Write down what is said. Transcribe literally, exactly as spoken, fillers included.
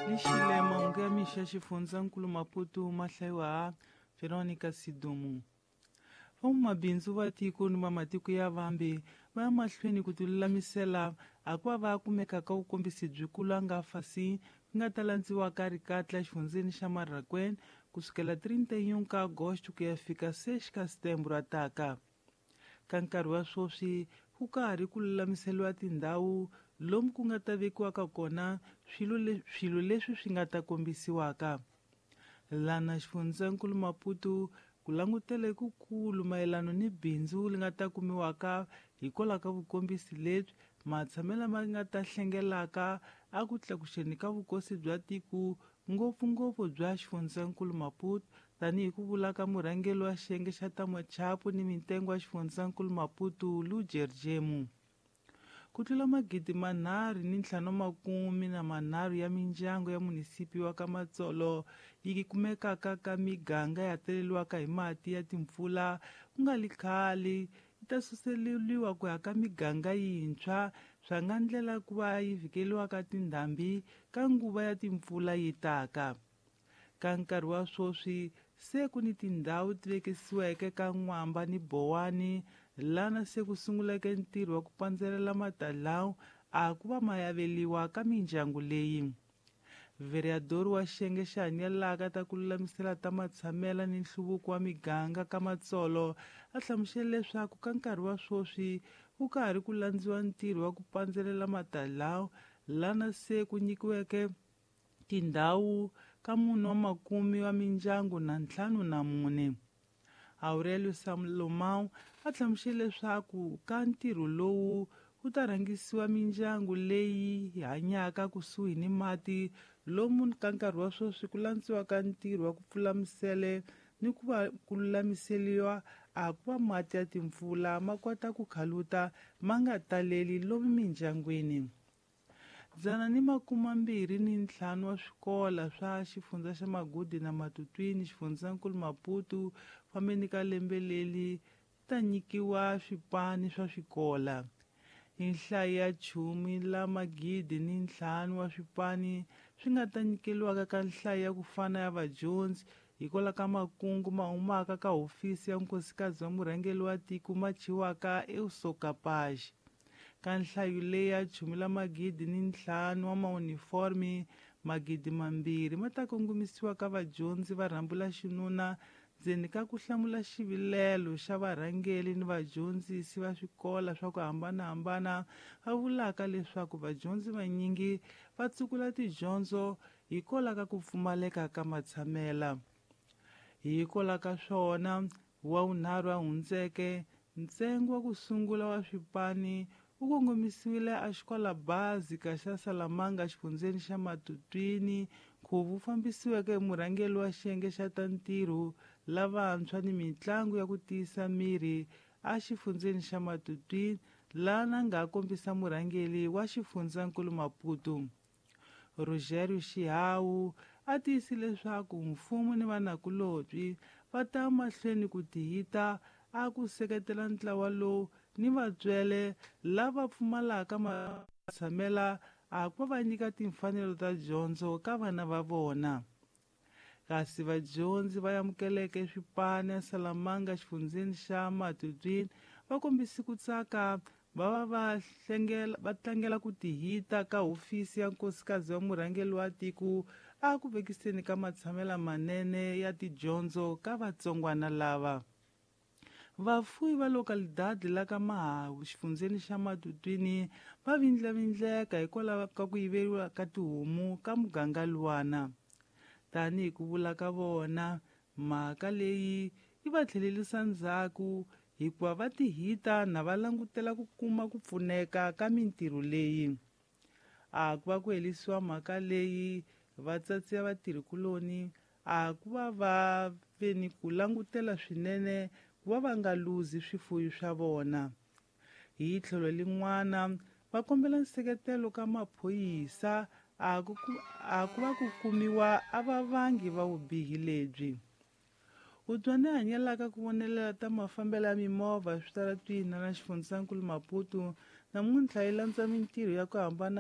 Ni xile mahungu ya mixo ya xifundzankulu Maputo ma hlayiwa Veronica Sidumu. Van'wamabindzu va tiko ni va matiko ya vambe va ya mahlweni ku tilulamisela a ku va va kumeka ka vukombisi byikulu a nga fasi ku nga ta landziwa ka rikatla exifundzeni xa Marraquene kusukela treinta e um ka agosto ku ya fika seis ka setembro a taka. Ka nkarhi wa sweswi ku karhi ku lulamiseriwa tindhawu lomu ku nga ta vekiwaka kona swilo le, swilo leswi swi nga ta kombisiwaka. Lana xifundzankulu Maputo ku langutele kukulu mayelana ni bindzu li nga ta kumiwaka hikwalaho ka vukombisi lebyi matshamelo ma nga ta hlengelaka a ku tlakuxeni ka vukosi bya tiko ngopfungopfu bya xifundzankulu Maputo tanihi ku vula ka murhangeri wa xiyenge xa ta machapu ni mitengo ya xifundzankulu Maputo Lujer Jemu. Ku tlula magidi manharhu ni ntlhanu makume na manharhu ya mindyangu ya munisipi wa ka Matsolo yi kumekaka ka miganga ya teleliwaka hi mati ya timpfula ku nga li khale yi ta suseleriwa ku ya ka miganga yintshwa swa nga ndlela ku va yi vhikeliwaka tindhambi ka nguva ya timpfula yi taka. Ka nkarhi wa sweswi se ku ni tindhawu ti vekisiweke ka N'wamba ni Bowani lana se ku sunguleke ntirho wa ku pandzelela matalawu a ku va ma yaveliwa ka mindyangu leyi. Vereador wa xiyenge xa hanyelaka ta ku lulamisela ta matshamela ni nhluvuko wa miganga ka Matsolo a hlamusele leswaku ka nkarhi wa sweswi ku karhi ku landziwa ntirho wa ku pandzelela matalawu lana se ku nyikiweke tindhawu ka munhu wa makume wa mindyangu na ntlhanu na mune. Aurelio Salomão a hlamusele leswaku ka ntirho lowu ku ta rhangisiwa mindyangu leyi hanyaka kusuhi ni mati lomu ka nkarhi wa sweswi ku landziwaka ntirho wa ku pfula misele ni ku va ku lulamiseriwa a ku va mati ya timpfula ma kota ku khaluta ma nga taleli lomu mindyangwini. Dzana ni makume mbirhi ni ntlhanu wa swikola swa xifundza xa Magudi na Matutwini xifundzankulu Maputo fambeni ka lembe leri ta nyikiwa swipani swa swikola. Hi nhlayo ya chumi la magidi ni ntlhanu wa swipani swi nga ta nyikeliwaka ka nhlayo ya ku fana ya vadyondzi hikwalaho ka makungu ma humaka ka hofisi ya nkosikazi wa murhangeri wa tiko ma thyiwaka Eu Sou Capaz. Ka nhlayo leyi ya chumi la magidi ni ntlhanu wa mauniformi magidi mambirhi ma ta kongomisiwa ka vadyondzi va rhambu la xinuna ndzeni ka ku hlamula xivilelo xa varhangeri ni vadyondzisi va swikola swa ku hambanahambana va vulaka leswaku vadyondzi vanyingi va tsukula tidyondzo hikwalaho ka ku pfumaleka ka matshamela. Hikwalaho ka swona wa vunharhu a hundzeke ntsengo wa ku sungula wa swipani wu kongomisiwile a xikola básica xa Salamanga xifundzeni xa Matutwini nkhuvo wu fambisiweke hi murhangeri wa xiyenge xa ta ntirho lavantshwa ni mitlangu ya ku tiyisa miri a xifundzeni xa Matutwini lana nga kombisa murhangeri wa xifundzankulu Maputo. Rogério Xihawu a tiyisile leswaku mfumo ni vanakulobye va ta mahlweni ku tihita a ku seketela ntlawa lowu ni vatswele lava pfumalaka matshamela a ku va nyika timfanelo ta dyondzo ka vana va vona. Kasi vadyondzi va amukeleke swipani ya Salamanga xifundzeni xa Matutwini va kombise ku tsaka va va va hlengela va tlangela ku tihita ka hofisi ya nkosikazi wa murhangeri wa tiko a ku vekiseni ka matshamela manene ya tidyondzo ka vatsongwana lava. Vafuwi va localidade la ka Mahawu xifundzeni xa Matutwini va vindlavindleka hikwalaho ka ku yiveriwa ka tihomu ka muganga luwana. Tanihi ku vula ka vona mhaka leyi yi va tlhelerisa ndzhaku hikuva va tihita na va langutela ku kuma ku pfuneka ka mintirho leyi. A ku va ku herisiwa mhaka leyi vatsatsi ya vatirhikuloni a ku va va ve ni ku langutela swinene ku va va nga luzi swifuwo swa vona. Hi tlhelo lin'wana va kombela nseketelo ka maphorisa a ku a ku va ku kumiwa a vavangi va vubihi lebyi. Hubyana hanyelaka ku vonelela ta mafambelo ya mimovha eswitaratwini na xifundzankulu Maputo namuntlha yi landza mintirho ya ku hambana.